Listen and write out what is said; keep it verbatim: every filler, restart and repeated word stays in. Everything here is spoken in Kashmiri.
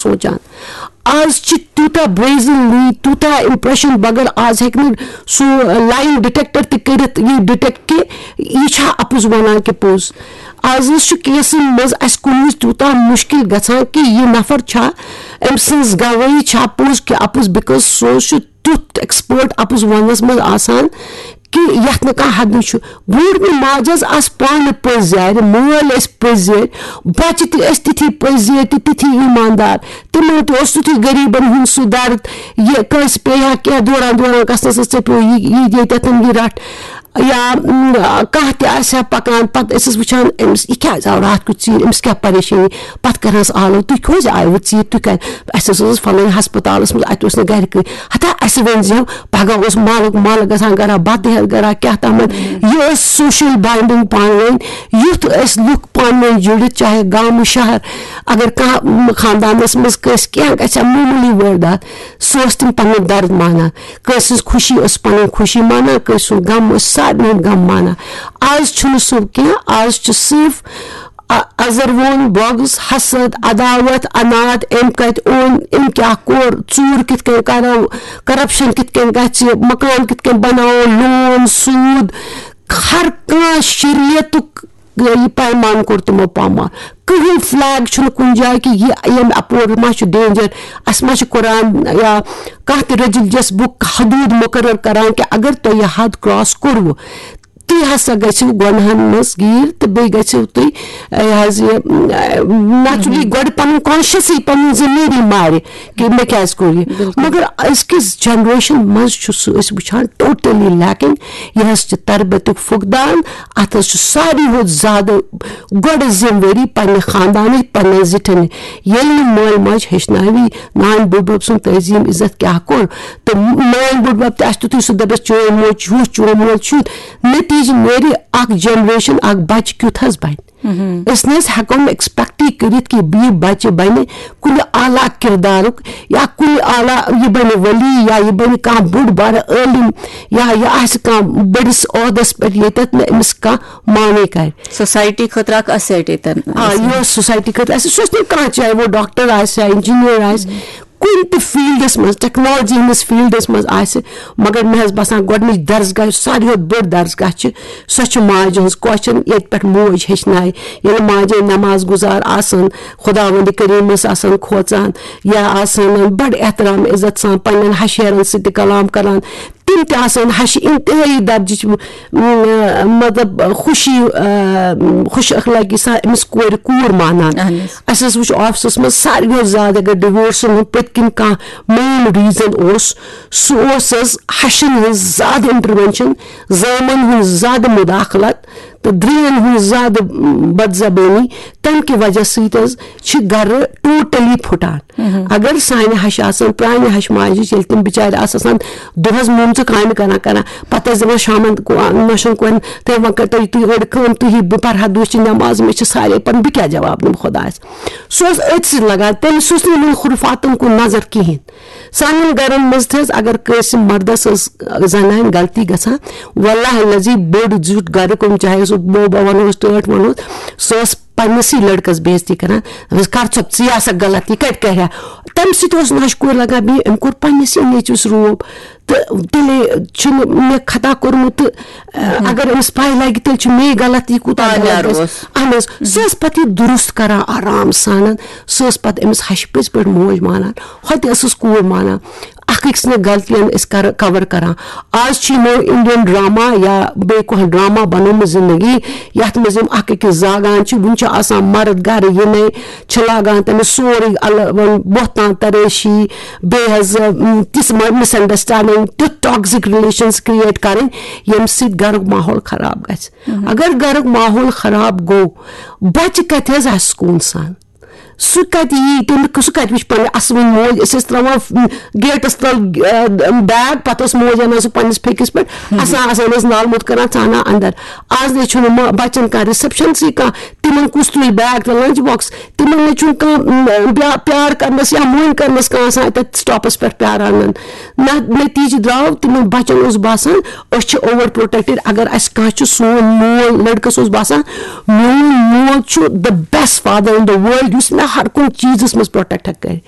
سونٛچان۔ آز چھِ تیوٗتاہ brazenly، تیوٗتاہ impression بغٲر، آز ہیٚکہِ نہٕ سُہ lie detector تہِ کٔرِتھ، یہِ detect کہِ یہِ چھا اَپُز وَنان کہِ پوٚز۔ آز حظ چھُ caseن منٛز اَسہِ کُنہِ وِزِ تیوٗتاہ مُشکِل گژھان کہِ یہِ نفر چھا، أمۍ سٕنٛز گوٲہی چھا پوٚز کہِ اَپُز، because سُہ حظ چھُ تیُتھ expert اَپُز وَننَس منٛز آسان کہِ یَتھ نہٕ کانٛہہ حدٕے چھُ۔ بوٗڑ مےٚ ماجہِ حظ آسہٕ پانہٕ پٔزۍ یارِ، مٲلۍ ٲسۍ پٔزۍ یٲرۍ، بَچہِ تہِ ٲسۍ تِتھی پٔزۍ یٲرۍ تہٕ تِتھی ایٖماندار۔ تِمَن تہِ اوس تیُتھُے غریٖبَن ہُنٛد سُہ درد، یہِ کٲنٛسہِ پیٚیہِ ہا کینٛہہ دوران دوران گژھنَس، ژےٚ پیوٚو یہِ، یہِ دِتھ تَتٮ۪ن یہِ رَٹھ۔ یا م، کانٛہہ تہِ آسہِ ہا پَکان، پَتہٕ ٲسۍ أسۍ وٕچھان، أمِس یہِ کیٛازِ آو راتھ کیُتھ ژیٖرۍ، أمِس کیٛاہ پریشٲنی؟ پَتہٕ کَرہَس آلو، تُہۍ کیٛازِ آیوٕ ژیٖرۍ، تُہۍ کَتہِ؟ اَسہِ حظ اوس فَلٲنۍ ہَسپَتالَس منٛز، اَتہِ اوس نہٕ گَرِ کٕہٕنۍ۔ ہَتا اَسہِ ؤنۍ زیو، پَگاہ اوس مَلُک مَل گژھان گَرا، بَتہٕ ہٮ۪تھ گَرا، کیٛاہ تامَتھ۔ یہِ ٲس social binding پانہٕ ؤنۍ، یُتھ ٲسۍ لُکھ پانہٕ ؤنۍ جُڑِتھ، چاہے گامہٕ شہر، اگر کانٛہہ م، خاندانَس منٛز کٲنٛسہِ کینٛہہ گژھِ ہا، معموٗلی وٲردات، سُہ اوس تِم پَنُن درد مانان۔ کٲنٛسہِ ہٕنٛز خوشی ٲس پَنٕنۍ خوشی مانان، کٲنٛسہِ ہُنٛد غم اوس سارنٕے ہُنٛد غم مانان۔ آز چھُنہٕ سُہ کینٛہہ، آز چھُ صرف ا-، اَزَر ووٚن، بۄغٕز، حسد، عداوت، عناد، أمۍ کَتہِ اوٚن، أمۍ کیٛاہ کوٚر، ژوٗر کِتھ کٔنۍ کَرو، corruption کِتھ کٔنۍ گژھِ، مکان کِتھ کٔنۍ بَناوو، loan، سوٗد، ہر کانٛہہ شریعتُک یہِ پیمان کوٚر تِمو پامال۔ کٕہٕنۍ flag چھُنہٕ کُنہِ جایہِ کہِ یہِ ییٚمہِ اَپور ما چھُ danger، اَسہِ ما چھُ قرآن یا کانٛہہ تہِ religious book حدوٗد مُقرر کران کہِ اگر تۄہہِ یہِ حد cross کوٚروٕ، تُہۍ ہسا گٔژھِو گۄنہَن منٛز گیٖر تہٕ بیٚیہِ گٔژھِو تُہۍ، یہِ حظ یہِ، naturally گۄڈٕ پَنُن consciousٕے پَنُن ضمیٖرٕے مارِ کہِ مےٚ کیٛازِ کوٚر یہِ۔ مگر أزکِس generation منٛز چھُ سُہ أسۍ وٕچھان totally lacking۔ یہِ حظ چھِ تربیتُک فقدان۔ اَتھ حظ چھُ ساروی کھۄتہٕ زیادٕ گۄڈٕ ذمہٕ وٲری پننہِ خاندانٕچ، پننٮ۪ن زِٹھٮ۪ن۔ ییٚلہِ نہٕ مٲلۍ ماجہِ ہیٚچھناوی نانۍ بٕڈبب سُنٛد تہذیٖم عزت کیٛاہ کوٚر، تہٕ نانۍ بٕڈبب تہِ آسہِ تیُتھُے سُہ دَپٮ۪س، "چون موج چھُ ہُہ، چون موج چھُ یُتھ"، نتیٖجہٕ نیرِ اکھ generation، اکھ بچہِ کیُتھ حظ بنہِ۔ أسۍ نہ حظ ہٮ۪کو نہٕ expectٕے کٔرِتھ کہِ یہِ بچہِ بنہِ کُنہِ اعلیٰ کردارُک یا کُنہِ اعلیٰ، یہِ بنہِ ولی یا یہِ بنہِ کانٛہہ بوٚڑ بارٕ عٲلِم یا یہِ آسہِ کانٛہہ بٔڑِس عہدس پٮ۪ٹھ ییٚتٮ۪تھ نہٕ أمِس کانٛہہ معنی کرِ۔ Society خٲطرٕ اکھ asset ییٚتٮ۪ن آ، آسہِ۔ یہِ اوس society خٲطرٕ اَسہِ، سُہ اوس نہٕ کانٛہہ، چاہے وہ doctor آسہِ یا engineer آسہِ، کُنہِ تہِ fieldس منٛز، technology ہٕنٛدِس fieldس منٛز آسہِ، مگر مےٚ حظ باسان گۄڈٕنِچ درسگاہ، یُس ساروی کھۄتہٕ بٔڑ درسگاہ چھِ، سۄ چھِ ماجہِ ہٕنٛز question، ییٚتہِ پٮ۪ٹھ موج ہیٚچھنایہِ۔ ییٚلہِ ماجہِ نماز گُزار آسان، خداوندِ کریٖمس آسان کھوژان، یا آسان بڑٕ احترام عزت سان پننٮ۪ن ہشیرن سۭتۍ تہِ کلام کران، تِم تہِ آسان ہشہِ انتہٲیی درجٕچ، م، مطلب خوشی، آ، خوش اخلٲقی سان أمِس کورِ کوٗر مانان۔ اہن حظ۔ اَسہِ حظ وٕچھ آفسَس منٛز ساروِیو زیادٕ اگر divorceن ہُنٛد پٔتۍ کِنۍ کانٛہہ main reason اوس، سُہ اوس حظ ہَشَن ہٕنٛز زیادٕ intervention، زامَن ہٕنٛز زیادٕ مداخلت تہٕ درٛیَن ہٕنٛز زیادٕ، م، بدزبٲنی۔ تَمہِ کہِ وجہ سۭتۍ حظ چھِ گَرٕ totally پھُٹان۔ اگر سانہِ ہَشہِ آسَن، پرٛانہِ ہَشہِ ماجہِ، ییٚلہِ تِم بِچارِ آسہٕ آسان دۄہَس مومژٕ کامہِ کَران کَران، پَتہٕ ٲسۍ دَپان شامَن کو-، نۄشَن کورٮ۪ن، "تُہۍ وۄنۍ کٔرۍ تو یہِ تُہۍ أڑۍ کٲم، تُہۍ یہِ بہٕ پَرٕ ہا دُہچہِ نٮ۪ماز، مےٚ چھِ سارے پَرُن، بہٕ کیٛاہ جواب دِمہٕ خۄدایَس؟" سُہ اوس أتھۍ سۭتۍ لَگان، تٔمِس اوس نہٕ یِمَن خُرفاتَن کُن نظر کِہیٖنۍ۔ سانٮ۪ن گَرَن منٛز تہِ حظ اگر کٲنٛسہِ مَردَس ٲس زَنانہِ غلطی گژھان، واللہ الذی بوٚڑ زیُٹھ گَرُک، چاہے سُہ بوبا وَنو أسۍ، ٹٲٹھ وَنو، سُہ اوس پننِسٕے لڑکس بے عزتی کران، دپان، "کر ژٕ، ژٕ یہِ ہسا غلط، یہِ کتہِ کرِ ہا؟" تمہِ سۭتۍ اوس نۄشہِ کورِ لگان بیٚیہِ، أمۍ کوٚر پننِسٕے نیٚچوِس روب۔ تہٕ تیٚلے چھُنہٕ مےٚ خطا کوٚرمُت تہٕ، اگر أمِس پاے لگہِ، تیٚلہِ چھُ مے غلط، یہِ کوٗتاہ پانہٕ غلط گژھِ۔ اوس۔ اہن حظ، سۄ ٲس پتہٕ یہِ درست کران آرام سان، سۄ ٲس پتہٕ أمِس ہشہِ پٔژھۍ پٲٹھۍ موج مانان، ہۄتہِ ٲسٕس کوٗر مانان۔ اکھ أکۍ سٕنٛدٮ۪ن غلطین أسۍ کر-، cover کران۔ آز چھِ یِمو Indian drama یا بیٚیہِ کانٛہہ drama بنومُت زندگی، یتھ منٛز یِم اکھ أکِس زاگان چھِ۔ وُنہِ چھُ آسان مرد گرٕ یِنَے، چھِ لاگان تٔمِس سورُے الگ، وۄنۍ بہتان ترٲشی، بیٚیہِ حظ، م، تِژھ م-، misunderstanding، تیُتھ toxic relations create کرٕنۍ، ییٚمہِ سۭتۍ گرُک ماحول خراب گژھِ۔ اگر گرُک ماحول خراب گوٚو، بچہِ کتہِ حظ آسہِ سکوٗن سان؟ سُہ کتہِ یی، تٔمۍ، سُہ کتہِ وٕچھِ پننہِ اصلٕنۍ موج؟ أسۍ ٲسۍ تراوان، م، gateس تل، ا، bag، پتہٕ ٲس موج انان سُہ پننِس پھیٚکِس پٮ۪ٹھ، اسان، اسان ٲسۍ نالہٕ موٚت کران، ژانان اندر۔ آز نہ چھُنہٕ ما-، بچن کانٛہہ receptionسٕے کانٛہہ، تِمن کُس تُلہِ bag تہٕ lunch box؟ تِمن نہ چھُنہٕ کانٛہہ، م، بیا-، پیار کرنس یا موٚنۍ کرنس کانٛہہ آسان اتٮ۪تھ stopس پٮ۪ٹھ پیاران۔ نہ، نتیٖجہٕ درٛاو، تِمن بچن اوس باسان أسۍ چھِ over protected۔ اگر اسہِ کانٛہہ چھُ، سون مول لڑکس اوس باسان، میون مول چھُ the best father in the world، یُس مےٚ ہر کُنہِ چیٖزَس منٛز پروٹیکٹ ہٮ۪کہِ کٔرِتھ۔